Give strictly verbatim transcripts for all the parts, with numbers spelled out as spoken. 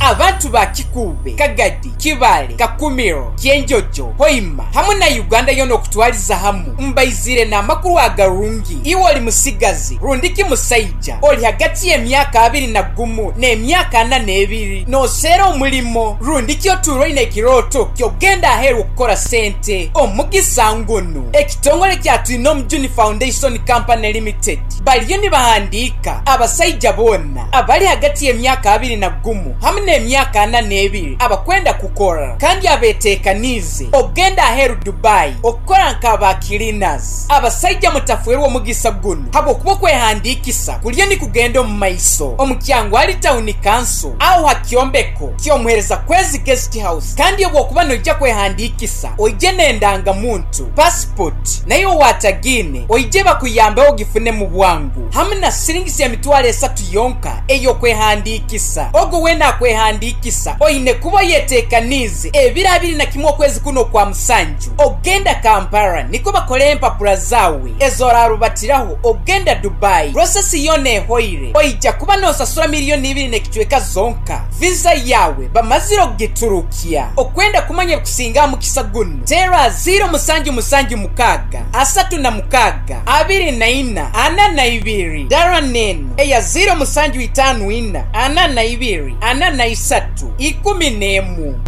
Abantu ba Kikuube, Kagadi, Kibaale, Kakumiro, Kyenjojo, Hoima hamwe na Uganda yoona okutwariza hamu mbaizire n'amakuru agarungi. Iwe ori musigazi rundiki musaija ori hagati y'emyaka abiri na gumu n'emyaka ana n'ebiri nooseera omurimo rundiki otuura oine ekirooto ky'okugenda aheeru okukora sente omugisa ngunu ekitongore kya Twinomujuni Foundation Company Limited bariyo nibahandiika abasaija boona abari hagati y'emyaka abiri na gumu hamwe n'emyaka ana n'ebiri abakwenda kukora kandi abeteekaniize okugenda aheeru Dubai okukora nk'aba cleaners. Abasaija mutafwerwa omugisa gunu habw'okuba okwehandiikisa kuriyo nikugenda omu maiso omu Kyangwali Town Council aho ha kyombeko ky'omuheereza Kwezi Guest House kandi obw'okuba noija kwehandiikisa oije n'endangamuntu, passport, naye owatagiine oije bakuyambeho ogifune mu bwangu hamwe na siringisi emitwaro esatu yonka ey'okwehandiikisa. Ogwo weena akwehandiikisa oine kuba oyeteekaniize ebiro abiri na kimwe okwezi kuno okwa musanju okugenda Kampala nikwo bakore empapura zaawe ezorarubatiraho okugenda Dubai. Process yoona ehoire oija kuba noosasura miliyoni ibiri n'ekicweka zonka. Visa yaawe bamazire okugiturukya. Okwenda kumanya ebikusinga aha mukisa gunu teera ziro musanju musanju mukaaga asatu na mukaaga abiri na ina ana na ibiri dara n'enu eya ziro musanju itaano ina ana na ibiri ana na isatu ikumi n'emu.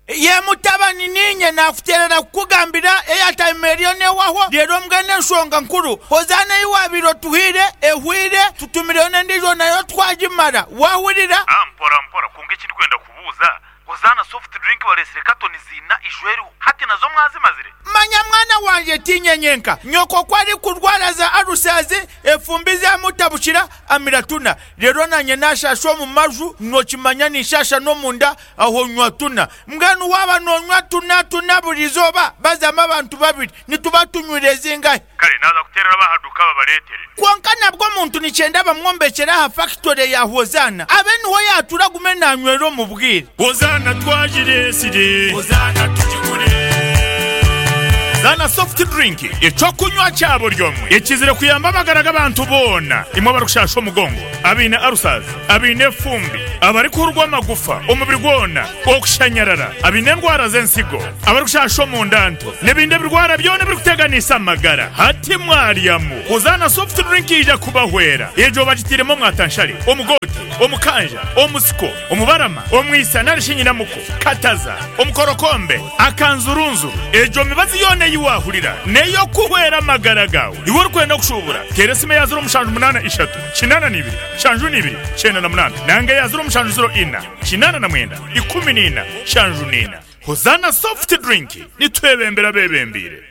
Ye mutabani, niinye naakuteerera kukugambira airtime eriyo neehwaho, reero mbwenu enshonga nkuru Hozaana ei waabaire otuhaire ehweire, tutumireyo n'endiijo nayo twagimara. Waahurira? Ah, mpora mpora, kwonka eki ndikwenda kubuuza, Hozaana soft drink bareetsire katoni ziina ijo eriho, hati nazo mwazimazire? Manya mwana wangye, tiinye nyenka. Nyoko ku arikurwara za alusazi, efumbi zaamutabukira, amira tuna. Reero naanye naashaasha omu maju, nookimanya ninshaasha n'omunda, aho nywa tuna. Mbwenu waaba noonywa tuna tuna buri izooba, bazamu abantu babiri, nituba tunywire zingahi? Kare naaza kuteerera ab'aha duuka babareetere. Kwonka nabwo omuntu nikyenda bamwombekyere aha fakitore ya Hozaana, abe niho yaatuura agume naanywera omu bwire. Hozaana twagireetsire. Hozaana tugigure. Zaana Soft Drink, eky'okunywa kya buri omwe ekizire kuyamba amagara g'abantu boona, imwe abarikushaasha omugongo, abaine ulcers, abaine efumbi, abarikuhurwa amagufa omubiri gwona, okushanyarara, abaine endwara z'ensigo, abarikushaasha omunda nto, n'ebindi ebirwara byona ebirikuteganisa amagara. Hati mwaryamu, Hozaana Soft Drink yaija kubahwera. Egyo bagitairemu omwatanshare, omugoote, omukanja, omusiko, omubarama, omwisa nari shi nyinamuko, kataza, omukorokombe, akanzurunzuru. Egyo mibazi yoona ei waahurira n'ey'okuhwera amagara gaawe. Iwe orikwenda kushuubura, teera esimu eya ziro mushanju munaana ishatu, kinaana na ibiri, nshanju na ibiri, kyenda na munaana nanga eya ziro mushanju ziro ina, kinaana na mwenda, ikumi na ina, nshanju na ina. Hozaana Soft Drink, nitwebembera abeebembeire.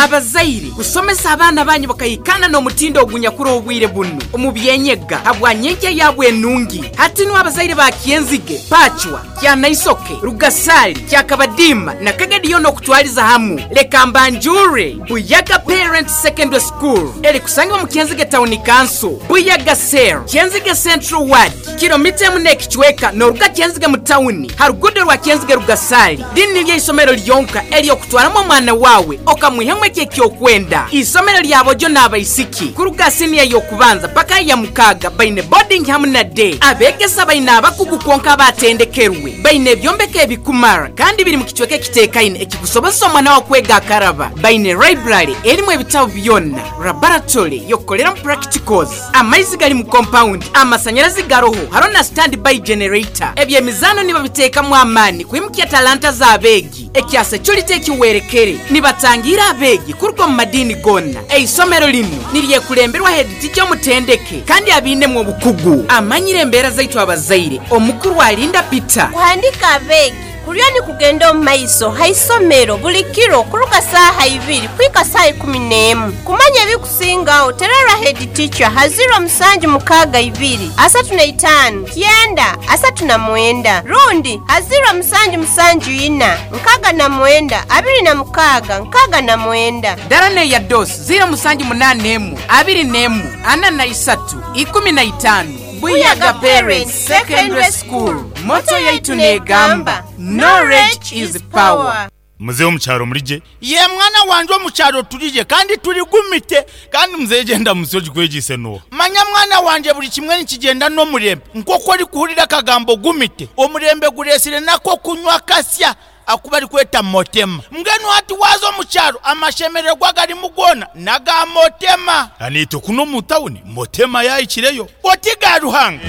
Abazaire, kusomesa abaana banyu bakahikaana n'omutindo ogunyakuri obwire bunu omu by'enyega habwa nyenkya yaabwe enungi. Hati nu abazaire ba Kyenzige, Pacwa, Kyanaisoke, Rugasaali, Kyakabadiima na Kagadi yoona okutwariza hamu, leka mbanjuure Buyaga Parents Secondary School erikusangibwa omu Kyenzige Town Council, Buyaga Cell, Kyenzige Central Ward, kilomita emu n'ekicweka nooruga Kyenzige mu tawuni ha ruguudo rwa Kyenzige Rugasaali. Rinu niryo eisomero ryonka ery'okutwaramu omwana waawe okamwihamu ekyo eki orikwenda. Eisomero rya boojo n'abaisiki kuruga siniya y'okubanza paka aha ya mukaaga baine boarding hamu na day. Abeegesa baine abakugu kwonka abatendekerwe. Baine ebyombeko ebikumara kandi biri mu kicweka ekiteekaine ekikusobozesa omwana waawe kwega akaraba. Baine library erimu ebitabo byona, laboratory y'okukoreramu practicals, amaizi gari mu compound, amasanyarazi garoho hariho na stand by generator. Eby'emizaano nibabiteekamu amaani kwimukya talanta z'abeegi. Ekya security ekiwerekere nibatangiira abeegi kuruga omu madiini goona. Eisomero linu niryekulemberwa headteacher omutendeke kandi abiinemu obukugu. Amanyire embeera zaitu abazaire, Omukuru Alinda Peter. Kuhandiika abeegi kuriyo nikugenda omu maiso ha isomero buli kiro kuruga saaha ibiri kuhika saaha ikumi n'emwe. Kumanya ebikusingaho terera head teacher ha ziro musanju mukaaga ibiri asatu na itaano kyenda asatu na mwenda rundi ha ziro musanju musanju ina nkaaga na mwenda abiri na mukaaga nkaaga na mwenda. Dara n'eya Dos ziro musanju munaana emwe abiri n'emwe ana na isatu ikumi na itaano. Buyaga Parents Secondary School, motto yaitu neegamba, Knowledge is power. Muzehe omukyaro murije? Ye mwana wanje, omukyaro turije kandi turigumite. Kandi muzehe genda musi ogikwegise no. Manya mwana wanje, buri kimwe nikigenda n'omurembe. Nk'oku orikuhurira akagambo gumite, omurembe guresire nako kunywa kasya akuba arikweta motema. Mbwenu hati waza omu kyaro, amashemererwa garimu goona naga motema. Anito kuno mu tawuni motema yayikireyo. Oti ga Ruhanga.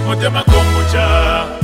Motema kombucha.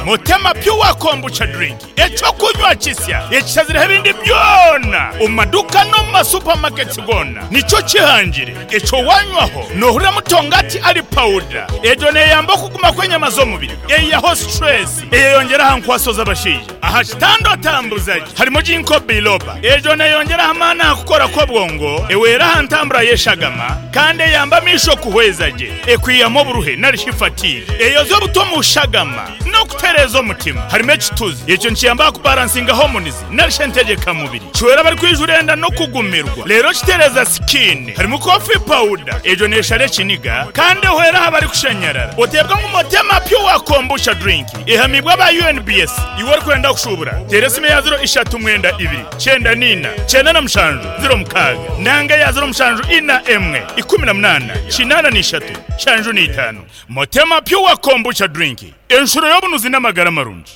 Motema pure kombucha drink, ekyokunywa kisya ekishazireho ebindi byona omu maduka no mu masupamaketi gona. Nikyo kihangire ekyo wanywaho nohurira mutongati ari pawuda. Egyo neyamba okuguma kw'enyama z'omubiri, eyiyaho stress, eyeyongera aha nkwaso z'abashaija, aha kitanda otambuzaje. Harimo ginkgo biloba, egyo neyongera amaani aha kukora kw'obwongo, ewera aha ntambura y'eshagama, kandi eyamba amaisho kuhweza gye, ekwihamu oburuhe narishi fatigue, eyoza obuto mu shagama n'okutereeza omutima. Harimo ekituzi, ekyo nikiyamba kubalansinga hormones narishi entegekamubiri, kiwera abari enda no kugumirwa, rero kitereza skin. Harimo coffee powder, egyo neshara ekiniga kandi ehwera aha bari kushanyarara. Otebwa ngu Motema pure kombucha drink ehamibwa aba U N B S. Iwe orikwenda kushubura, tera esimu ya ziro ishatu mwenda ibiri cyenda nina cyenda na mushanju ziro mukaaga, nanga ya ziro mushanju ina emwe ikumi na munana kinana n'ishatu shanju n'itanu. Motema pure kombucha drink, enshuro y'obunuzi n'amagara marungi.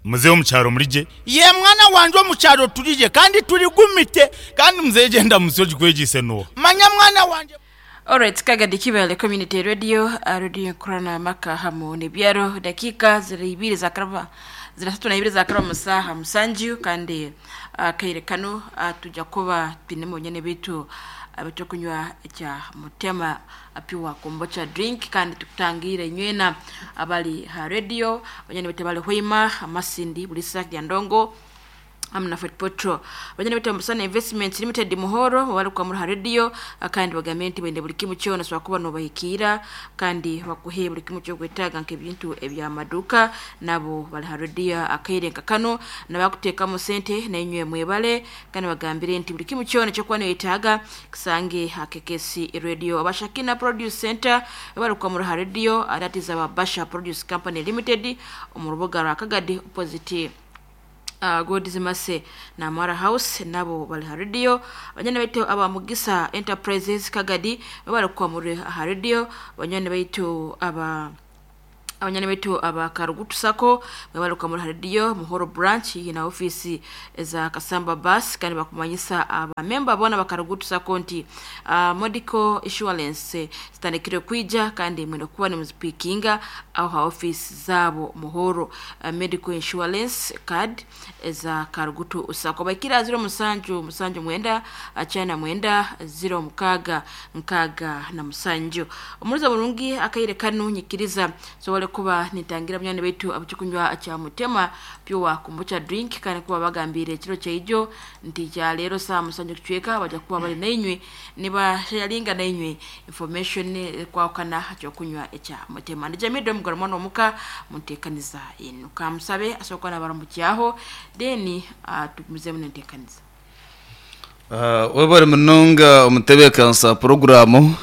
Muzehe omukyaro murije? Ye mwana wanje, omukyaro turije kandi turigumite. Kandi muzehe genda musi ogikwegise no. Manya mwana wanje. Alright, Kagadi Kibale Community Radio, uh, radio nkorana maka hamu nebyaro. Dakika ziri ibiri za karaba, ziri tatu na ibiri za karaba musaha musanju. Kandi uh, kaire kano uh, tujya kuba twinemo nyene bitu uh, kunywa kya Mutema pure kombucha drink, kandi tukutangira inywena abali ha radio banyene bitu bali Hoima, Amasindi, Bulisa, Ndongo hamwe na Fort Potro. Banyene bitu Musana Investment Limited Muhoro bari kwa muri radio, kandi bagamye nti bende buri kimwe cyona so kuba no bahikira kandi bakuhe buri kimwe cyo gwetaga nk'ebintu ebya maduka. Nabo bari ha radio akairenka kano nabakutekamo sente na inywe mwebale, kandi bagambire nti buri kimwe cyona cyo kuba yetaga kisange hakekesi radio. Abashakina Produce Center bari kwa muri radio, aratiza Babasha Produce Company Limited mu rubuga rwa Kagadi, opposite uh, Godizimase na Mara House, nabo bali ha radio. Banyana baitu aba Mugisa Enterprises Kagadi bali kwa muri ha radio. Banyana baitu aba abanyana baitu aba Karugutu Sako bali kwa muri radio Muhoro branch na ofisi za Kasamba Bus, kandi bakumanyisa aba member bona bakarugutu Sako nti uh, medical insurance zitandikire kwija, kandi mwendo kuba ni muzipikinga aho ha ofisi zabo Muhoro, uh, medical insurance card za Karugutu Sako. Bakira ziro musanju musanju mwenda achana mwenda ziro mukaga nkaga na musanju. Omuruza burungi akaire kanu nyikiriza so wale kuba nitangira munyane betu abucukunywa kya Mutema pure kombucha drink, kandi kuba bagambire ekiro kyaijo nti kya leero saa musanju kucweka bajja kuba bali nainywe niba sharinga nainywe information kwawukana kyokunywa ekya Mutema. Ndi Jamido mugora mwana omuka munteekaniza enu kamusabe asooka nabaramukyaho, then uh, tugumizemu nenteekaniza. Uh, webale munonga omutebeekanisa poroguramu,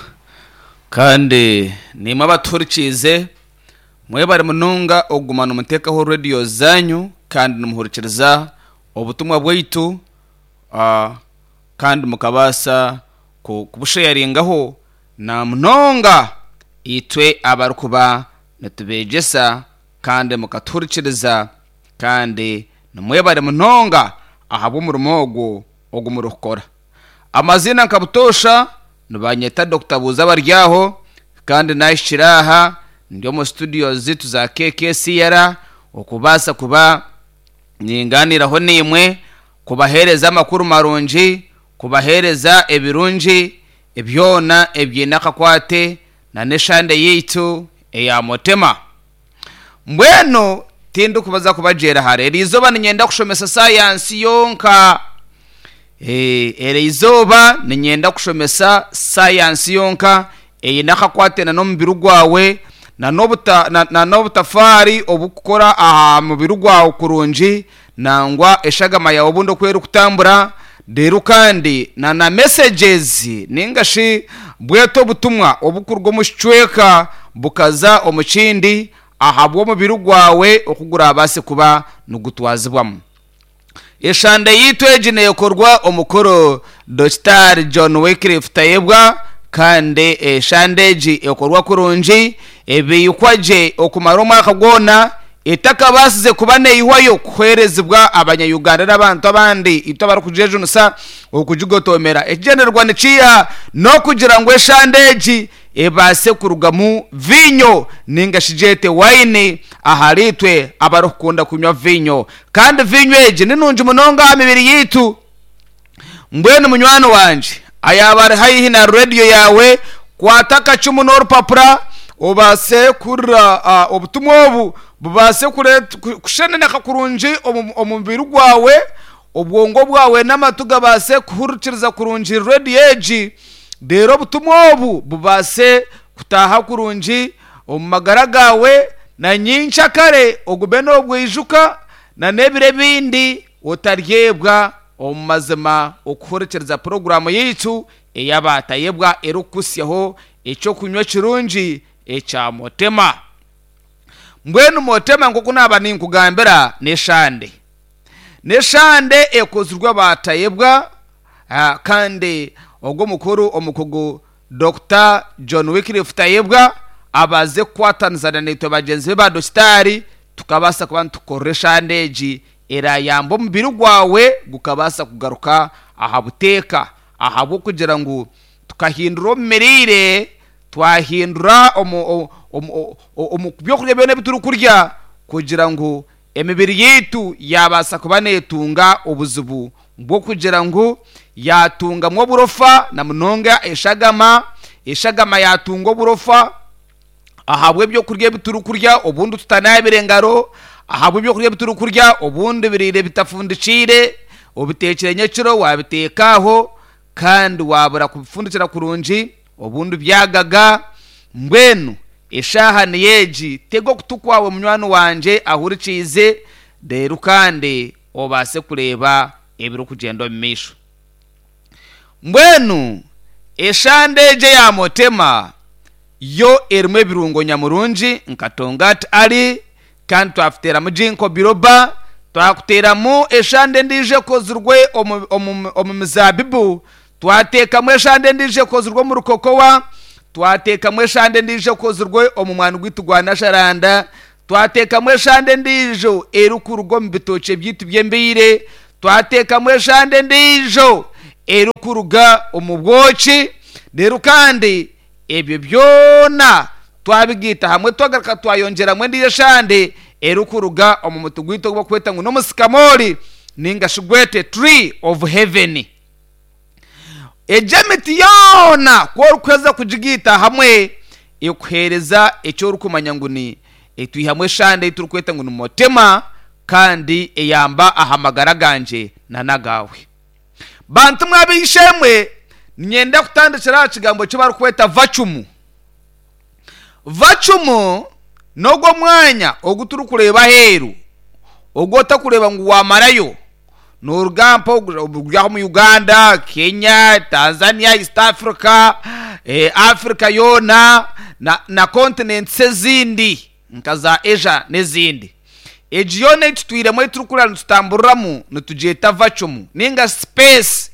kandi nimwe abatuhurikiize mwebale munonga okuguma nimuteekaho radiyo zanyu kandi nimuhurikiriza obutumwa bwaitu, uh, kandi mukabaasa ku- kubusharingaho na munonga itwe abarikuba nitubegyesa, kandi mukatuhurikiriza, kandi nimwebale munonga ahabw'omurimo ogwo ogu murikukora. Amazina nkabutosha nibanyeta Doctor Buza Baryaho, kandi nahikire aha ndi omu studio zitu za K K C R okubaasa kuba ninganiraho nimwe, kubahereza amakuru marungi, kubahereza ebirungi ebyona ebyine akakwate na n'eshande yaitu eya Mutema. Mbwenu tindikubaza kubagyera hare, eri izooba ninyenda kushomesa sayansi yonka. Eh, eri izooba ninyenda kushomesa sayansi yonka eine akakwate na n'omubiri gwawe na n'obuta- na- na n'obutafaari obukukora aha mubiri gwawe kurungi, nangwa eshagama yawe obundi oku erikutambura reero, kandi na na messages ningashi bweta obutumwa obukuruga omu kicweka bukaza omu kindi. Ahabw'omubiri gwawe okugurabase kuba nugutwazibwamu. Eshande yitu egi neekorwa omukuru Doctor John Wycliffe Tayebwa, kandi eshande egi ekorwa kurungi, ebiyikwa gye okumara omwaka gwona, etakabasize kuba neihwayo kuherezibwa abanyayuganda n'abantu abandi itwe abarikujejunusa okugigotomera. Ekigyendererwa nikiiha? N'okugira ngu eshande egi ebase kurugamu vinyo ninga shigyete wayini ahari itwe abarikukunda kunywa vinyo, kandi vinyo egi ni nungi munonga aha mibiri yitu. Mbwenu munywani wanje ayaba ari haihi na rediyo yawe, kwata akacumu n'orupapura obase kurira uh, obutumwa obu bubase kusheneneka kurungi omu mubiri gwawe, obwongo bwawe n'amatu gabase kuhurikiriza kurungi rediyo egi, rero obutumwa obu bubase kutaha kurungi omu magara gawe, na nyincakare ogume n'obwijuka na n'ebiro ebindi otaryebwa omu mazima okuhurikiriza poroguramu yitu eyabatayebwa erikukusyaho ekyokunywa kirungi ekya Motema. Mbwenu Motema nkoku naba ninkugambira n'eshande, n'eshande ekozirwe abatayebwa, kandi ogwo mukuru omukugu Doctor John Wycliffe Tayebwa abaze kukwatanizana naitwe bagenzi be ba dokitari, tukabasa kuba nitukorera eshande egi erayamba omubiri gwawe gukabasa kugaruka aha buteeka, ahabw'okugira ngu tukahindura omu mirire, twahindura omu omu byokurya byona ebi turikurya kugira ngu emibiri yitu yabasa kuba neetunga obuzibu bw'okugira ngu yatungamu oburofa na munonga eshagama, eshagama yatunga oburofa ahabw'ebyokurya ebi turikurya obundi tutanabire engaro, ahabw'ebyokurya ebi turikurya obundi birire bitafundikiire, obitekire nyekiro wabiteeka aho kandi wabura kubifundikira kurungi obundi byagaga. Mbwenu eshaha niyo egi, tega okutu kwawe munywani wanje ahurikiize, reero kandi obase kureeba ebirikugyenda omu maisho. Mbwenu eshande egi eya Motema yo erimu ebirungo nyamurungi nka tongati ali, kandi twafuteramu ginkgo biloba, twakuteramu eshande endiijo ekozirwe omu, omu, omu mizabibu, twateekamu eshande endiijo ekozirwe omu rukokowa, twateekamu eshande endiijo ekozirwe omu mwani gwitu gwa nasharanda, twateekamu eshande endiijo erikuruga omu bitookye byitu by'embiire, twateekamu eshande endiijo erikuruga omu bwoki, reero kandi ebyo byona twabigiita hamwe twagaruka twayongyeramu endiijo eshande erikuruga omu muti gwitu ogu bakweta ngu n'omusikamori ninga shi gwete tree of heaven. Egyo emiti yoona ku orikuheza kugigiita hamwe ekuheereza eki orikumanya ngu ni etwihamu eshande ei turikweta ngu ni Motema, kandi eyamba aha magara gangye na n'agaawe. Bantu mwabeishemwe, niinyenda kutandikira aha kigambo eki barikweta vacumu. Vacumu n'ogwo mwanya ogu turikureeba aheeru, ogu otakureeba ngu wamarayo noruga mpa ori aho omu Uganda, Kenya, Tanzania, East Africa, eh, Africa yoona na, na continents ezindi nka za Asia n'ezindi. Egi yoona ei tutwiremu ei turikurira nitutamburiramu nitugyeta vacumu ninga space.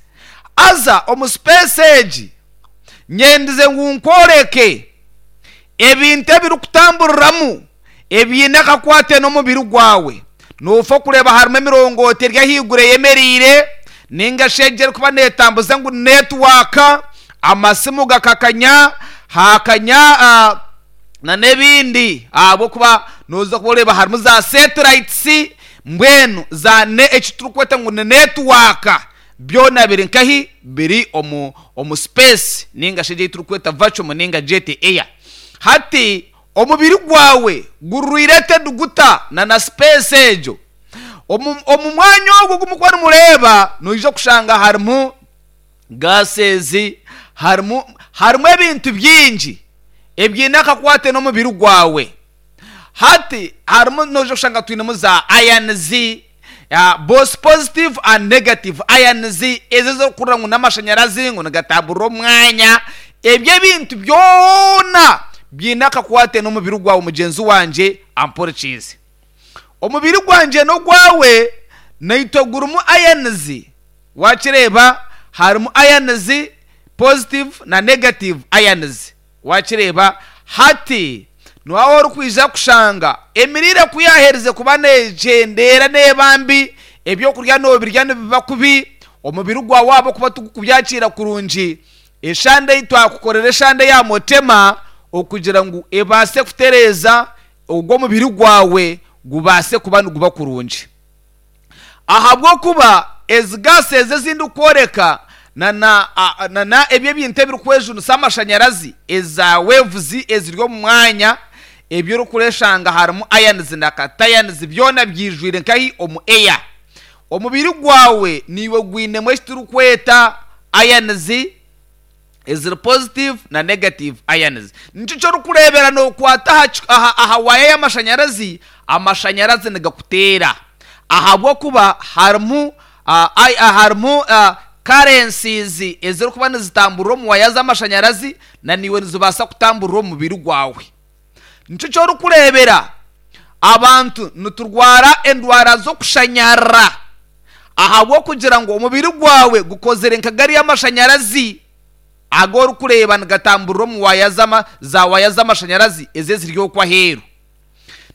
Haza omu space egi nyendize ngu nkworeke ebintu ebirikutamburiramu ebiine akakwate n'omubiri gwawe. Noofa kureeba harimu emirongooti eri ahaiguru eyemereire ninga shi egi erikuba neetambuza ngu netiwaaka, amasimu gakakanya, haakanya uh, na n'ebindi, ahabw'okuba nooza kuba oreeba harimu za satellites, mbwenu za ne eki turikweta ngu ni netiwaaka, byona biri nkahi? Biri omu omu space ninga shi egi ei turikweta vacuum ninga jet air. Hati omubiri gwawe gurwire guta na na space egyo? Omu omu mwanya ogwo ogumukuba nimureeba, noija kushanga harimu gases, harimu harimu ebintu bingi ebiine akakwate n'omubiri gwawe. Hati harimu noija kushanga twinemu za ions, uh, both positive and negative ions, ezo ezirikurira ngu n'amashanyarazi ngu nigatamburira omu mwanya. Ebyo ebintu byona Byine akakwate n'omubiri gwawe mugyenzi wangye ampurikiize. Omubiri gwangye n'ogwawe naitwe gurimu ions. Wakireeba harimu ions positive na negative ions. Wakireeba hati niwaaba orikwija kushanga emiriire ku yaaherize kuba neegyendera neeba mbi, ebyokurya noobirya nibiba kubi, omubiri gwawe ahabw'okuba tigurikubyakiira kurungi, eshande ei twakukorera eshande ya mutema okugira ngu ebaase kutereeza ogwo omubiri gwawe gubaase kuba niguba kurungi. Ahabw'okuba ezi gaasi ezi ezindikworeka na na a- na na ebyo ebintu ebirikwejunisa amashanyarazi eza waves eziri omu mwanya ebyo orikureshanga harimu ions na cations byona byijwire nkahi omu air. Omubiri gwawe niiwe gwinemu eki turikweta ions eziri positive na negative ions. Nikyo ky'orikureebera nookwata aha ki- aha, aha waaya y'amashanyarazi, amashanyarazi nigakuteera ahabw'okuba harimu uh, ai- ah, harimu uh, currencies ezirikuba nizitamburira omu waya z'amashanyarazi na niiwe nizibaasa kutamburira omu mubiri gwawe. Nikyo ky'orikureebera abantu niturwara endwara z'okushanyarara ahabw'okugira ngu omubiri gwawe gukozire nka gariya amashanyarazi ago orikureeba nigatamburira omu waya z'ama za waya z'amashanyarazi ezi eziri okwo aheeru.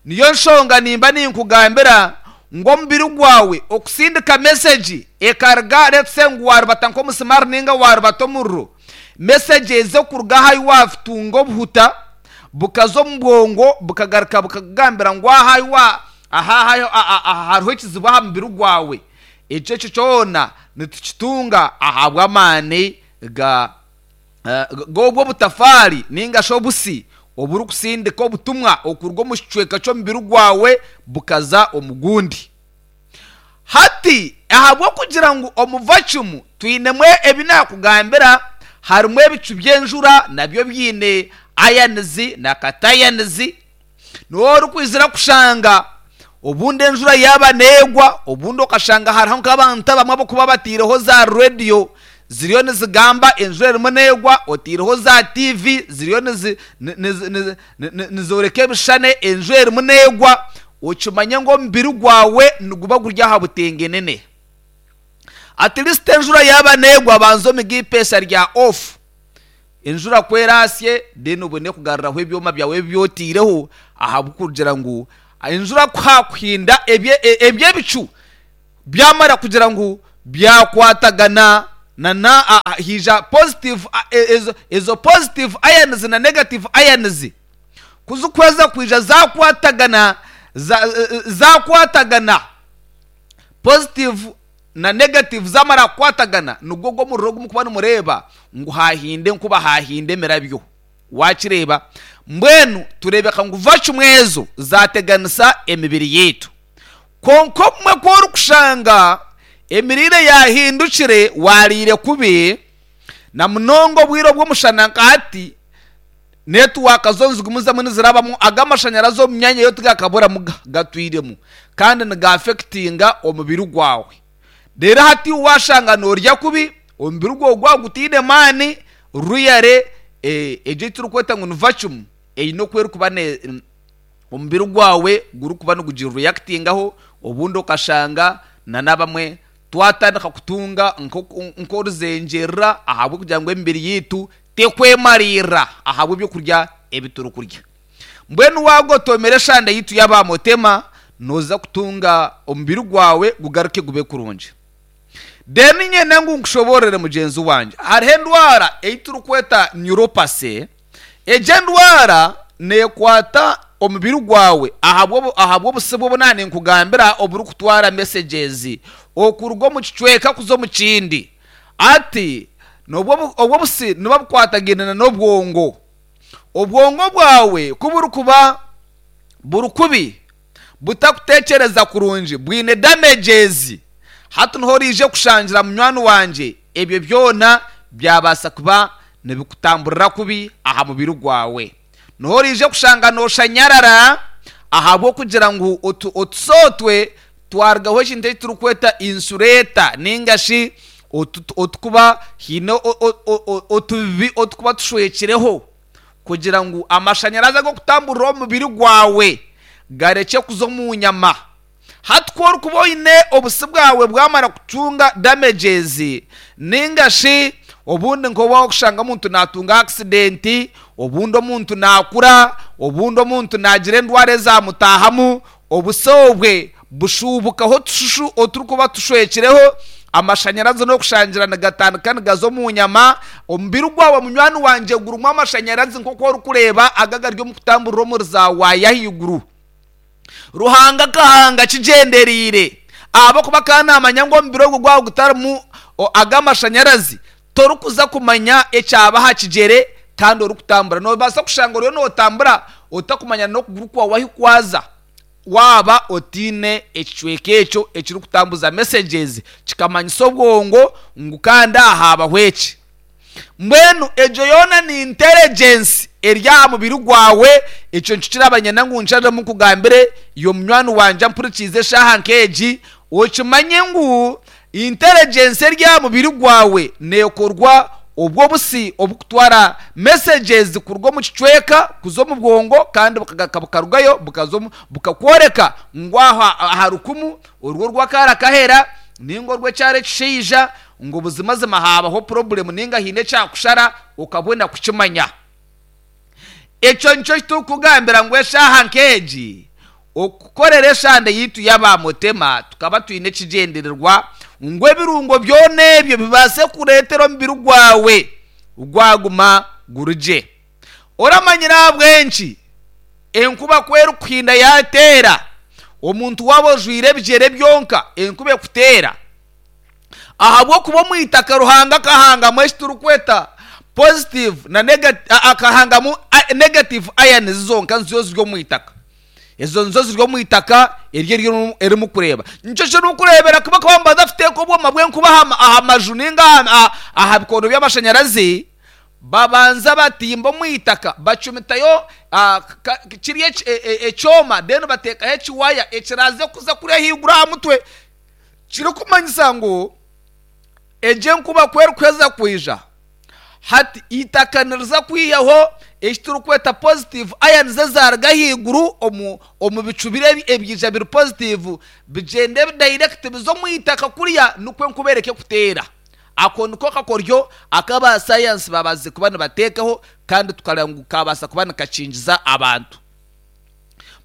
Niyo nshonga nimba ninkugambira ngu omubiri gwawe okusindika message ekaruga let's say ngu warubata nk'omusimaari ninga warubata omuriro, message ezi okuruga aha ahu watunga obuhuta bukaza omu bwongo bukagaruka bukakugambira ngu aha ahu wa aha aha aha- aha hariho ekizibu aha mubiri gwawe. Ekyo ekyo kyona nitukitunga ahabw'amaani ga eh, g'obwo obutafaari ninga shi obusi oburikusindika obutumwa okuruga omu kicweka ky'omubiri gwawe bukaza omu gundi. Hati ahabw'okugira ngu omu vacuum twinemu ebi naakugambira harimu ebicu by'enjura nabyo byine ions na cations. Niwe orikwizira kushanga obundi enjura yaaba neegwa, obundi okashanga hariho nk'abantu abamwe abarikuba bataireho za rediyo ziriyo nizigamba enjura erimu neegwa, otaireho za T V ziriyo nizi- ni- nizi- nizi- ni- ni- nizooreka ebishushani enjura erimu neegwa, okimanye ngu omubiri gwawe niguba guri aha butengenene. At least enjura yaaba neegwa banza omige ipeesa rya off. Enjura ku eraasye then obone kugaruraho ebyoma byawe ebi otaireho ahabw'okugira ngu enjura ku haakuhinda ebye- e- ebyebicu byamara kugira ngu byakwatagana na na a- a- haija positive a- e- ezo, ezo positive ions na negative ions kuzikweza kwija zakwatagana za- e- e- zakwatagana positive na negative zamara kukwatagana nigwo gw'omuriro ogumukuba nimureeba ngu hahinde nkuba hahinde emirabyo. Wakireeba mbwenu tureebeka ngu vacuum ezo zateganisa emibiri yaitu. Kwonka obumwe ku orikushanga emiriire yahindukire wariire kubi na munonga obwire obw'omushana nka hati netiwaaka zo nizigumizamu nizirabamu ag'amashanyarazi omu myanya yo tigakaburamu ga- gatwiremu kandi nigaafekitinga omubiri gwawe. Reero hati washanga noorya kubi omubiri gwawe gwaba gutaine maani ruyare eh, egyo ei turikweta ngu ni vacuum eine oku erikuba ne omubiri gwawe gurikuba nigugireactingaho obundi okashanga na n'abamwe twatandika kutunga nk'oku- nk'oruzengyerera ahabw'okugira ngu emibiri yaitu tekwemariirira ahabw'ebyokurya ebi turikurya. Mbwenu waagotomera eshande yaitu y'abamotema nooza kutunga omubiri gwawe gugaruke gube kurungi. Then nyenda ngu nkushoboorere mugyenzi wangye hariho endwara ei turikweta neuropathy. Egyo endwara neekwata omubiri gwawe ahabw'obu- ahabw'obusi obu naaba ninkugambira oburikutwara messages okuruga omu kicweka kuza omu kindi. Ati nobwo obu- obwo obusi nibuba bukwatagaine na n'obwongo. Obwongo bwawe ku burikuba buri kubi butakutekyereza kurungi bwine damages, hati niho oriije kushangira munywani wangye ebyo byona byabaasa kuba nibikutamburira kubi aha mubiri gwawe. Niho oriije kushanga nooshanyarara ahabw'okugira ngu otu- otusootwe twarugaho ekintu eki turikweta insulator ninga shi otu- otukuba hiine o- o- o- o- otubibi otukuba tushwekireho. Kugira ngu amashanyarazi ag'okutamburira omubiri gwawe gareke kuza omu nyama. Hati ku orikuba oine obusi bwawe bwamara kutunga damages, ninga shi obundi nk'oba okushanga omuntu natunga accident, obundi omuntu nakura, obundi omuntu nagira endwara ezamutahamu, obusi obwe bushubukaho otushushu oturikuba tushwekireho amashanyarazi n'okushangira nigatandika nigaza omu nyama. Omubiri gwawe munywani wangye gurimu amashanyarazi nk'oku orikureeba aga gari omu kutamburira omuri za waaya ahaiguru. Ruhanga akahanga kigyendereire ahabw'okuba akaba naamanya ngu omubiri ogwo gwaba gutarimu ag'amashanyarazi torikuza kumanya ekyaba aha kigyere kandi orikutambura. Noobaasa kushanga oriyo nootambura otakumanya n'okuguru kwawe ahi kwaza waaba otiine ekicweka ekyo ekirikutambuza messages kikamanyisa obwongo ngu kandi aha haabaho eki. Mbwenu egyo yoona ni intelligence eri aha mubiri gwawe. Ekyo nikyo kirabanyenda ngu nsharemu nkugambire iwe munywani wangye ampurikiize eshaaha nk'egi, okimanye ngu intelligence eri aha mubiri gwawe neekorwa obwo obusi obukutwara messages kuruga omu kicweka kuza omu bwongo, kandi bukagaruka bukarugayo bukaza omu bukakworeka ngu aha aha rukumu orwo orw'akaara kahera ninga orw'ekyara ekishaija ngu buzimazima haabaho problem ninga haine ekyakushara okabona kukimanya. Ekyo nikyo kiturikugambira ngu eshaaha nk'egi okukorera eshande yaitu y'abamutema tukaba twine ekigyendererwa ngu ebirungo byona ebyo bibaase kureetera omubiri gwawe gwaguma gurugye. Oramanyire ahabw'enki enkuba ku erikuhinda yateera omuntu waaba ojwaire ebigyere byonka enkuba ekuteera? Ahabw'okuba omu itaka Ruhanga akahangamu eki turikweta positive na negative, akahangamu negative ions zonka nizo ziri omu itaka. Ezo nizo ziri omu itaka eryo eri erimukureeba. Nikyo kirikureebera kuba bakaba nibaza kuteeka obwoma bw'enkuba aha aha maju ninga aha aha bikondo by'amashanyarazi, babanza batimba omu itaka bacumitayo kiri ekyoma, then bateekaho ekiwaya ekiraaze kuza kuriya ahaiguru aha mutwe, kirikumanyisa ngu egyo enkuba ku erikuheza kwija hati eitaka niriza kwihaho eki turikweta positive ions ezaruga ahaiguru omu omu bicu biri ebyija biri positive bigyende direct bize omu itaka kuriya, nikwo enkuba ereke kuteera. Ako niko kakoryo aku aba sayansi babaasize kuba nibateekaho kandi tukareeba ngu kabaasa kuba nikakingiza abantu.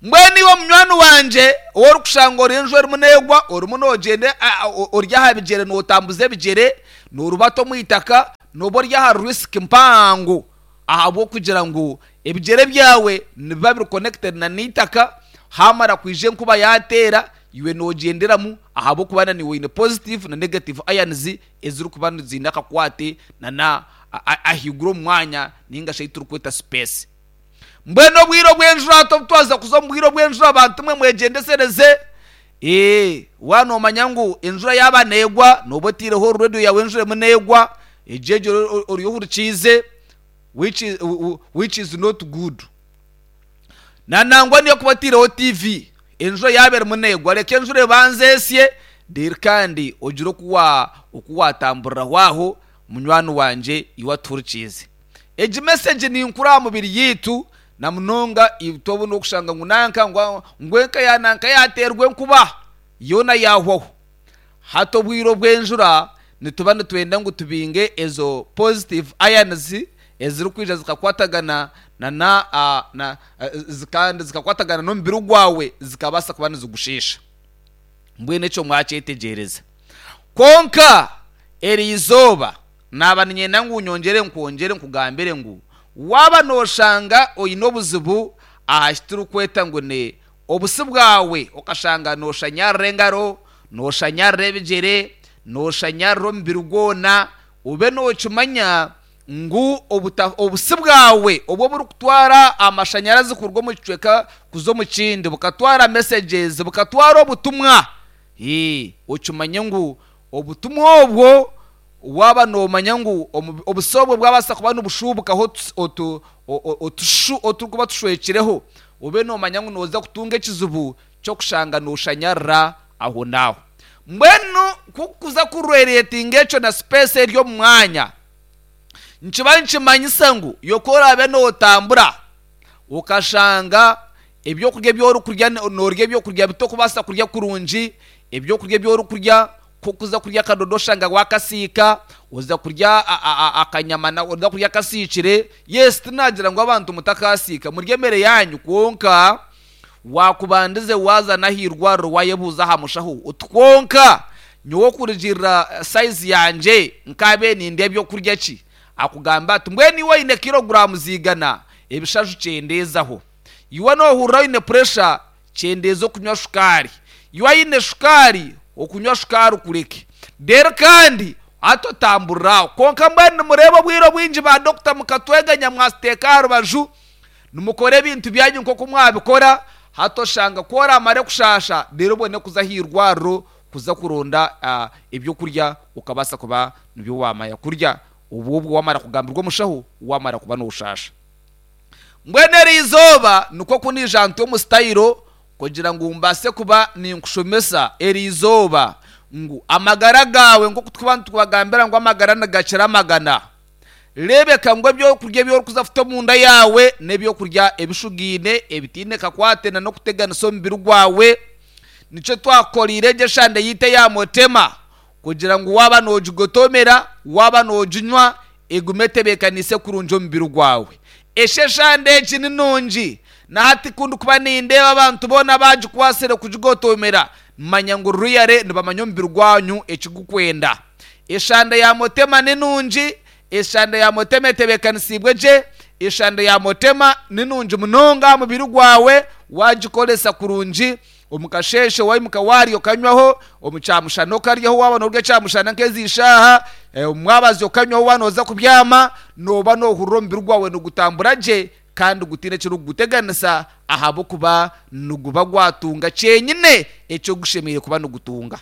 Mbwenu iwe munywani wangye ou orikushanga ori enju erimu neegwa, orimu noogyenda ori aha bigyere nootambuza ebigyere, noorubata omu itaka, nooba ori aha risk mpango ahabw'okugira ngu ebigyere byawe nibiba biri connected na n'eitaka, haamara kwija enkuba yaateera, iwe noogyenderamu ahabw'okuba na niiwe oine positive na negative ions ezirikuba ziine akakwate na na ahaiguru omu mwanya ninga shi ei turikweta space. Mbwenu obwire obw'enjura hati obu twaza kuza omu bwire obw'enjura bantu mwe mwegyendesereze. Ee, waaba noomanya ngu enjura yaaba neegwa nooba otaireho reediyo yaawe enjura erimu neegwa, egyo egyo ori ohurikiize which is, which is not good. Na nangwa niyo kuba otaireho T V, enjura yaaba erimu neegwa reka enjura ebanze esye, reero kandi ogire oku wa oku waatamburiraho aho munywani wangye iwe atuhurikiize. Egi message ninkuru aha mubiri yaitu na munonga itwe obu n'okushanga ngu nanka ngu ngu enka ya nanka yateerwa enkuba yoona yaahwaho. Hati obwire obw'enjura nituba nitwenda ngu tubinge ezo positive ions ezirikwija zikakwatagana na na na kandi zikakwatagana n'omubiri gwawe zikabaasa kuba nizigushiisha. Mbwenu ekyo mwakyetegyereza. Kwonka eri izooba naaba niinyenda ngu nyongyere nkwongyere nkugambire ngu waaba nooshanga oine obuzibu aha ki turikweta ngu ni obusi bwawe, okashanga nooshanyarira engaro, nooshanyarira ebigyere, nooshanyarira omubiri gwona, obe nookimanya ngu obusi bwawe obu oburikutwara amashanyarazi kuruga omu kicweka kuza omu kindi, bukatwara messages, bukatwara obutumwa, ee okimanye ngu obutumwa obwo waaba noomanya ngu obusi obwo bwabaasa kuba nibushuubukaho otushushu oturikuba tushwekireho, obe noomanya ngu nooza kutunga ekizibu ky'okushanga nooshanyarira ahonaaho. Mbwenu ku kuza kureeretinga ekyo na space eri omu mwanya, Nkiba nkimanyisa ngu yokorabe notambura ukashanga ebyokurya by'orikurya norya ebyokurya bitokubasa kurya kurungi, ebyokurya by'orikurya kukuza kurya akadodosha nga wakasiika, oza kurya akanyama na oza kurya akasikire. Yes, tinagira ngu abantu mutakasiika murye emere yanyu, kwonka wakubandize waza nahirwariro wayebuuza aha mushaho utwonka nyowe kurugirira size yanje nkabe nindya ebyokurya ki, akugamba ati mbwenu iwe oine kiloguramu zigana ebishaju kyendeezaho, iwe nohurira oine pressure kyendeeza okunywa shukaari, iwe oine shukaari okunywa shukaari kureke rero kandi atotamburiraho. Kwonka mbwenu nimureba obwire obwingi ba dokita mukatweganya mwasiteeka aha rubaju nimukora ebintu byanyu nk'oku mwabikora, hatoshanga ku oramare kushasha rero obone kuza aha irwariro kuza kuronda ebyokurya ukabasa kuba nibyo wamaya kurya, obwo obwo wamara kugambirwa omushaho wamara kuba noshasha. Mbwenu eri izooba nikwo kunija nti omu sitayiro kugira ngu mbase kuba ninkushomesa eri izooba ngu amagara gawe nk'oku tukuba nitubagambira ngu amagara nigakira amagana. Rebeka ngu ebyokurya ebyorikuza kuta omunda yawe n'ebyokurya ebishugiine ebitiine kakwate na n'okuteganisa omubiri gwawe. Nikyo twakorire egyo eshande yiite ya motema kugira ngu waba nogigotomera waba noginywa egume etebeekanise kurungi omubiri gwawe. Esho eshande egi ni nungi nahati kundi kuba nindeeba abantu boona bagikwasire kugigotomera manya ngu ruyare nibamanya omubiri gwanyu ekigukwenda. Eshande ya motema ni nungi, eshande ya motema etebeekanisibwe gye, eshande ya motema ni nungi munonga mubiri gwawe wagikoresa kurungi. Omukasheshe waimuka warya okanywaho, omukyamushana okaryaho waba norya ekyamushana nk'ezi ishaaha, omwabazi okanywaho waba noza kubyama, noba nohurira omubiri gwawe nigutambura gye kandi gutiine ekirikuguteganisa ahabw'okuba niguba gwatunga kyenyine ekyogushemereire kuba nigutunga.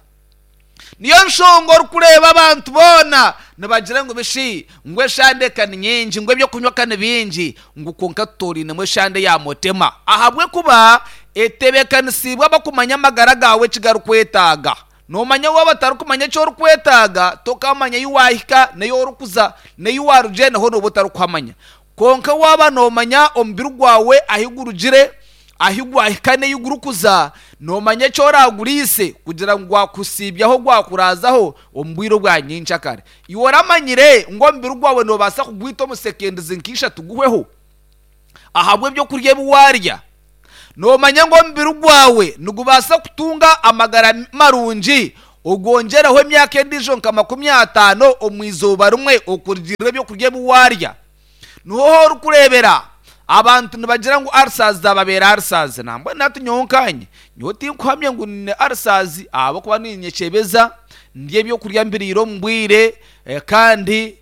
Niyo nshonga orikureeba abantu boona nibagira ngu bishi ngu eshande ka ni nyingi, ngu ebyokunywa ka ni bingi, ngu kwonka tutorinemu eshande ya motema, ahabw'okuba etebeekanisibwe abakumanya amagara gawe ekigarikwetaaga. Nomanya waaba batarikumanya eki orikwetaaga tokamanya ei wahika n'ei orikuza n'ei warugire naho nooba otarikuhamanya. Kwonka waaba nomanya omubiri gwawe ahi gurugire, ahi gwahika n'ei gurikuza, nomanya eki oraguriise kugira ngu gwakusiibyaho gwakurazaho omu bwire obwa nyenkyakare. Iwe oramanyire ngu omubiri gwawe nobaasa kugwita omu sekendizi nk'ishatu guhweho ahabw'ebyokurya ebi warya. Nomanya ngu omubiri gwawe nigubaasa kutunga amagara marungi ogwongyeraho emyaka endiijo nka makumi ataano omu izooba rimwe okurugirira ebyokurya ebi warya. Niho orikureebera abantu nibagira ngu ulcers zababeera ulcers, nambwenu hati nyowe nkanye nyowe tinkuhamya ngu nyine ulcers ahabw'okuba ninyekyebeza ndya ebyokurya mbiriire omu bwire, kandi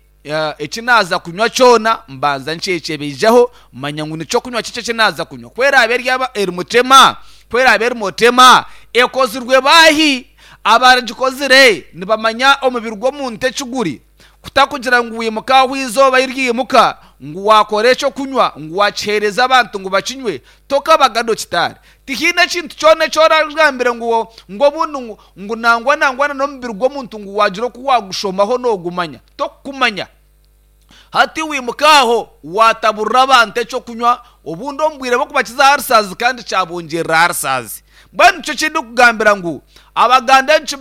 eki naaza kunywa kyona mbanza nkyekyebejaho manya ngu nikyo kunywa kiki eki naaza kunywa. Ku eraabe eri eri mutema, ku eraabe eri motema ekozirwe baahi? Abagikozire nibamanya omubiri gw'omuntu ekiguri, kutakugira ngu wimuka aho izooba ryimuka ngu wakora ekyokunywa ngu wakiheereza abantu ngu bakinywe, tokabaga dokitaari. Tihaine ekintu kyona eki oragambire ngu ngu obundi ngu ngu nangwa nangwa n'omubiri gw'omuntu ngu wagira oku wagushomaho noogumanya, tokukumanya. Hati wimuka aho wataburira abantu ekyokunywa obundi omu bwire bw'okubakiza ulcers kandi kyabongyerera ulcers. Mbwenu nikyo kindikugambira ngu abaganda nki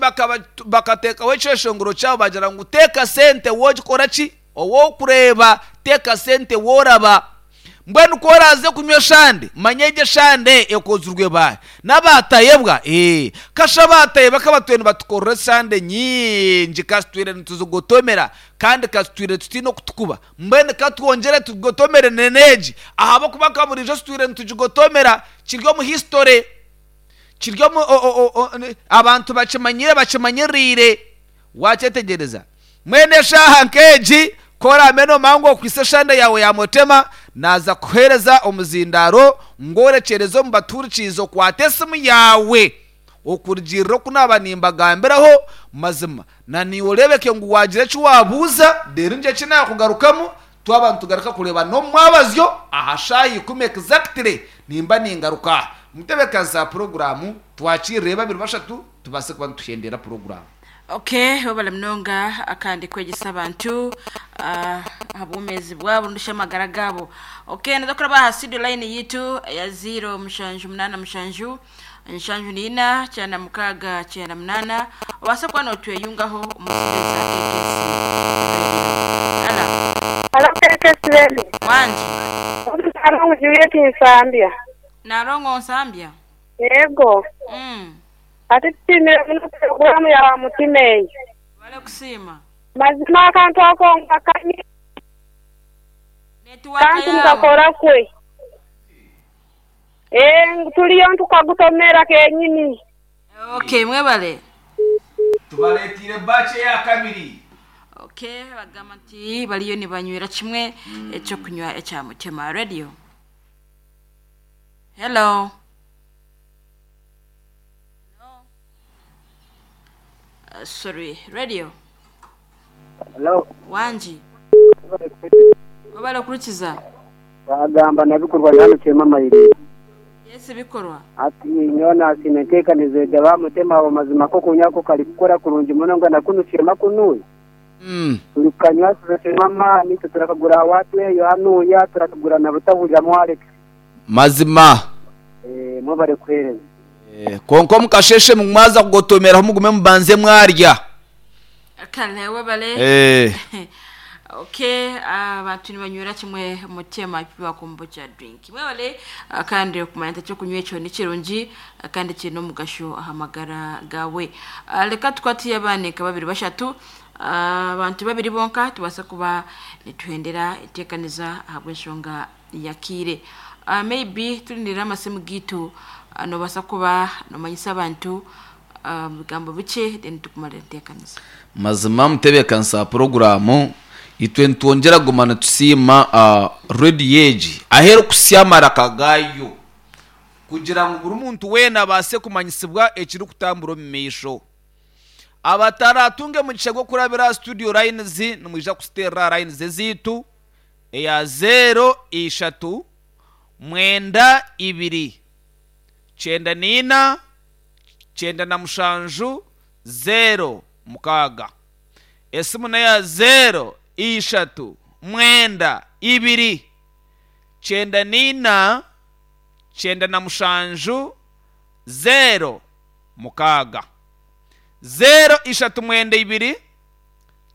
bakateekaho ekyeshongoro kyabo bagira ngu teeka sente wogikora ki ow'okureeba, teeka sente woraba. Mbwenu ku oraze kunywa eshande manya egyo eshande ekozirwe baahi n'abatayebwa. Ee kasha abatayebwa kabatwire nibatukorera eshande nyingi kasitwire nituzigotomera kandi kasitwire tutiine okutukuba. Mbwenu katwongyere tugotomere n'egi ahabw'okuba nka buriijo situire nitugigotomera kiri omu history, kiri omu abantu bakimanyire bakimanyiriire. Wakyetegyereza mwene eshaaha nk'egi korame nomanya ngu okwise eshande yawe ya motema, naza kuheereza omuzindaaro ngworekyereze omu batuhurikiize okwate esimu yawe okurugirira oku naaba nimbagambiraho mazima na niiwe oreebeke ngu wagira eki wabuuza reero ngye eki naakugarukamu twaba nitugaruka kureeba n'omwabazyo aha shaaha ikumi exactly nimba ningaruka. Mutebeekanisa puroguraamu twakirire babiri bashatu tubaase kuba nituhendera puroguraamu. Okay, webale munonga akandi kwegyesa abantu aha bwomezi bwabo ndusha amagara gabo. Okay, ndakuraba aha studio line yitu ya zero mushanju munana mushanju nshanju nina cyana mukaga cyenda munana obasa kuba notweyungaho omusideza K K C Radio. Hello. Hello, K K C Radio. Wanji. Narongo Juliet Nsambya. Narongo Nsambya. Yego. Mm. Ati timira muno programu ya mutimei. Wale kusima. Mazima akantu ako ngakanyi. Network kantu yawe. Ngakora kwe. Eh, tuliyo ntukagutomera kenyini. Okay, mwebale. Tubaletire bache ya kabiri. Okay, bagamba nti baliyo ni banywera kimwe ekyo kunywa ekya Mutema Radio. Hello. Hello. Uh, sorry, radio. Hello. Wanji. Wabale okurukiza. Bagamba nabikorwa nyanukye mayire. Yes, bikorwa. Ati nyona simentekanize jaba Mutema abo mazima ko kunyako kali kukora kurungi muno ngo nakunukiye makunuye. Mm. Turikanywa turekema amani turakagura watu eyo hanuya turakagura na butahurira mu Alex. Mazima. Eh, mubare kwereza. Eh, konko mukasheshe mumwaza kugotomera mugume mubanze mwarya. Kale webale. Eh. Okay, abantu uh, nibanywera kimwe Mutema piwa kombucha drink. Mwebale uh, kandi okumanya cyo kunywa ekyo ni kirungi uh, kandi kino mugasho ahamagara gawe. Uh, leka tukwatiye abaneka babiri bashatu abantu uh, babiri bonka tubasa kuba nituhendera itekaniza ahabw'enshonga yakire. Uh, maybe tulindira amasimu gitu uh, nobasa kuba nomanyisa abantu bigambo uh, bice then tukumara itekaniza. Mazima mutebekanisa programu itwe ntwongera gumana tusima uh, radio age ahero kusyamara kagayo kugira ngo buri muntu wena abase kumanyisibwa ekiri kutambura mu misho abataratunge mu gishego kurabira studio lines nimwija kusitera lines zitu eya zero ishatu mwenda ibiri cyenda nina cyenda na mushanju zero mukaga esimu nayo zero ishatu mwenda ibiri cyenda nina cyenda na mushanju zero mukaga zero ishatu mwenda ibiri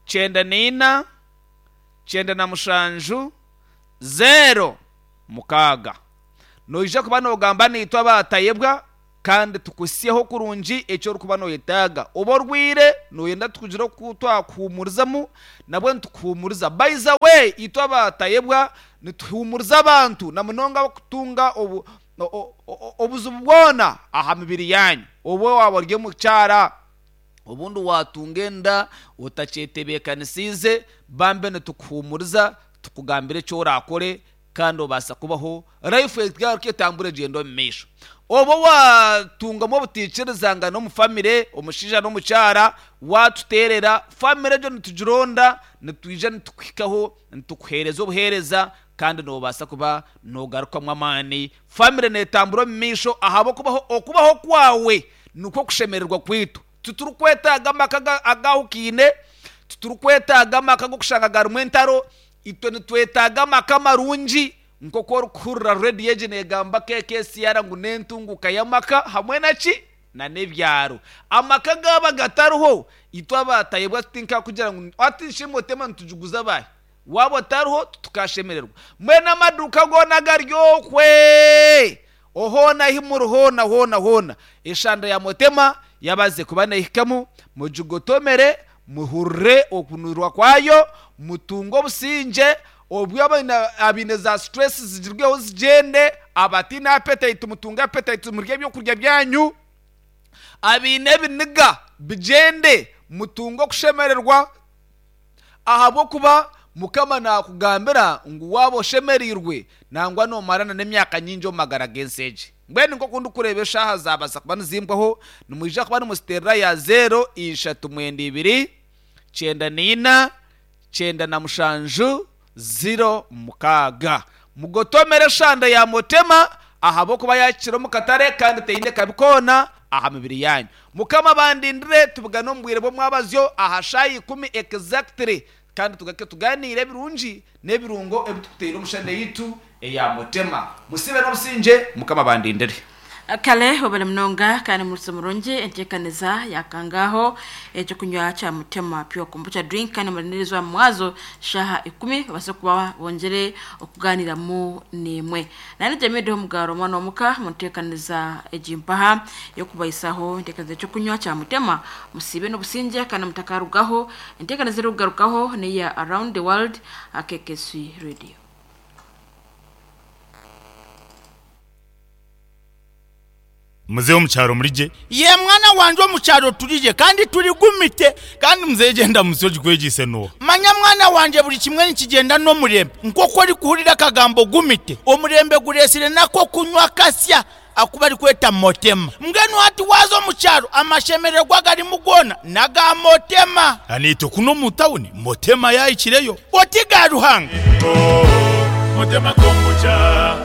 cyenda nina cyenda na mushanju zero mukaga noija kuba nogamba nitwa batayebwa kandi tukusyeho kurungi ekyo orikuba noyetaaga oba orwire noyenda tukugira oku twakuhumurizamu nabwo nitukuhumuriza. By the way, itwe abatayebwa nituhumuriza abantu na munonga abakutunga obu obuzibu bwona aha mibiri yanyu. Oba waba ori omukyara obundi watunga enda otakyetebeekanisiize bambe nitukuhumuriza tukugambira ekyo orakore kandi obasa kubaho life egaruka etambura egyenda omu maisho. Oba watungamu obutiikirizanga n'omufamire omushaija n'omukyara watuteerera famire egyo nitugironda nitwija nitukuhikaho nitukuheereza obuheereza kandi nobaasa kuba nogarukamu amaani. Famire netambura omu maisho ahabw'okubaho okubaho kwawe nikwo kushemererwa kwitu. Titurikwetaaga amaka agahukiine, titurikwetaaga amaka g'okushanga garimu entaro, itwe nitwetaaga amaka marungi nk'oku orikuhurira radio egi negamba K K C R ngu n'entunguka y'amaka hamwe naki na n'ebyaro. Amaka gaba gatariho itwe abatayebwa tutinka kugira ngu ati nshimotema nitujuguza abahe waba otariho tukashemererwa. Mbwenu amaduka goona garyokwe ohoona himuri hoona hoona hoona eshanda ya Mutema yabaze kuba nehikamu mugigotomere muhurire okunurwa kwayo mutunge obusinge obwo abine za stress zigirweho zigende abatina appetite mutunge appetite murye ebyokurya byanyu abine ebiniga bigende mutunge okushemererwa ahabw'okuba mukama nakugambira ngu waba oshemereirwe nangwa nomarana n'emyaka nyingi omu magara g'ensi egi. Mbwenu nk'oku ndikureeba eshaaha zabaasa kuba nizimbwaho nimwija kuba nimusiterera ya zero ishatu mwenda ibiri cyenda nina cyenda na mushanju zero mukaga. Mugotomere eshanda ya Mutema ahabw'okuba yakira omu katare kandi teine kabikona aha mibiri yanyu. Mukama bandindire tubugane omu bwire bw'omwabazyo aha shaaha ikumi exactly Kandi tugake tuganire ebirungi n'ebirungo ebitukuteire omushande yitu eya mutema. Musibe n'obusinge mukama bandindire. Kale obale munonga kandi murutse murungi enteekaniza yakangaho ekyokunywa kya mutema pure kombucha drink, kandi murindirizwa mwazo shaha ikumi babase kuba bongere okuganiramu nimwe. Nani jemideho omugaro omwana omuka munteekaniza egimpaha yokubaisaho enteekaniza ekyokunywa kya mutema. Musibe n'obusinge kandi mutakarugaho. Enteekaniza erikugarukaho neya Around the World akekeswi radio. Muzehe omukyaro murije? Ye mwana wanje, omukyaro turije kandi turigumite. Kandi muzehe genda musi ogikwegise no. Manya mwana wanje, buri kimwe nikigenda n'omurembe. Nk'oku orikuhurira akagambo gumite, omurembe guresire nako kunywa kasya akuba arikweta motema. Mbwenu hati waaza omu kyaro, amashemererwa garimu goona n'aga motema. Aniitwe kuno omu tawuni motema yahikireyo. Oti ga Ruhanga. Motema kombucha.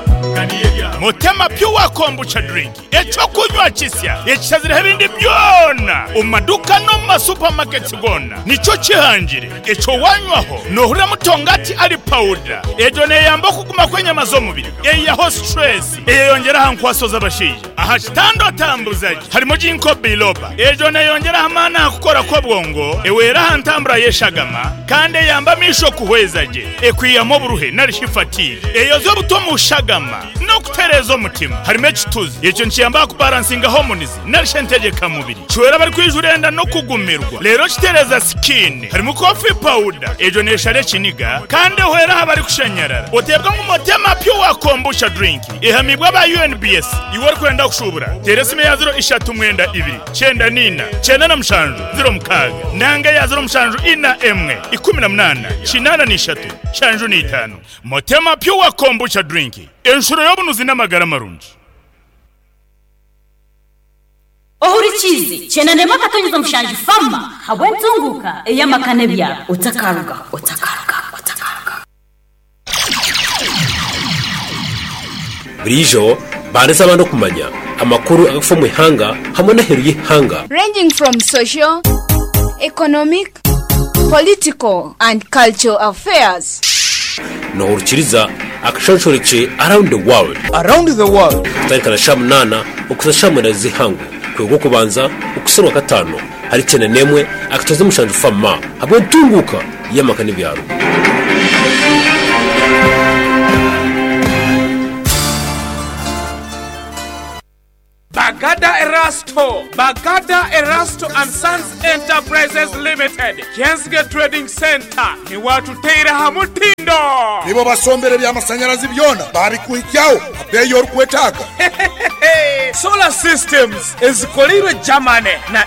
Motema pure kombucha drink ekyokunywa kisya ekishazireho ebindi byona omu maduka n'omu masupamaketi gona nikyo kihangire. Ekyo wanywaho nohurira mutongati ari pawuda. Egyo neyamba okuguma kw'enyama z'omubiri, eyihaho stress, eyeyongyera aha nkwaso z'abashaija aha kitanda otambuzagi. Harimo ginkgo biloba, egyo neyongyera amaani aha kukora kw'obwongo, ewera aha ntambura y'eshagama, kandi eyamba amaisho kuhweza gye, ekwihamu oburuhe narishi fatigue, eyoza obuto omu shagama n'okutereeza omutima. Harimo ekituzi, ekyo nikiyamba kubalansinga hormones narishi entegekamubiri, kiwera abarikwijura enda n'okugumirwa, leero kitereeza skin. Harimu coffee powder, egyo neeshara ekiniga kandi ehwera aha barikushanyarara. Oteebwa ngu motema pure kombucha drink ehamibwa aba U N B S. Iwe orikwenda kushubura, teera esimu ya ziro ishatu mwenda ibiri kyenda nina kyenda na mushanju ziro mukaaga nanga ya ziro mushanju ina emwe ikumi na munaana kinaana n'ishatu nshanju n'itaano. Motema pure kombucha drink, enshuro y'obunuzi n'amagara marungi. Ohurikize cyenda ndema akatonyeza omushanju fama habwe ntunguka ey'amakane ebyaro otakaruga otakaruga otakaruga. Burijo bandisa abandi okumanya amakuru agakufa omu ihanga hamwe n'aheeru y'ihanga. Ranging from social, economic, political, and cultural affairs. Nohurikiriza akashonshoreke Around the World. Around the World. Kutandika sha munaana okuza sha mwenda z'ihangwe kwega okubanza okuserwa katano hari icyenda n'emwe akatoza umushanju fama hamwe ntunguka y'amaka n'ibyaro. Bagada Erasto, Bagada Erasto and Sons Enterprises Limited, Kensge Trading Center, ni watuteira hamutindo. Nibo basombere by'amasanyarazi byona babikuhikyaho abeeyi orikwetaaga. Solar systems ezikoleirwe Germany na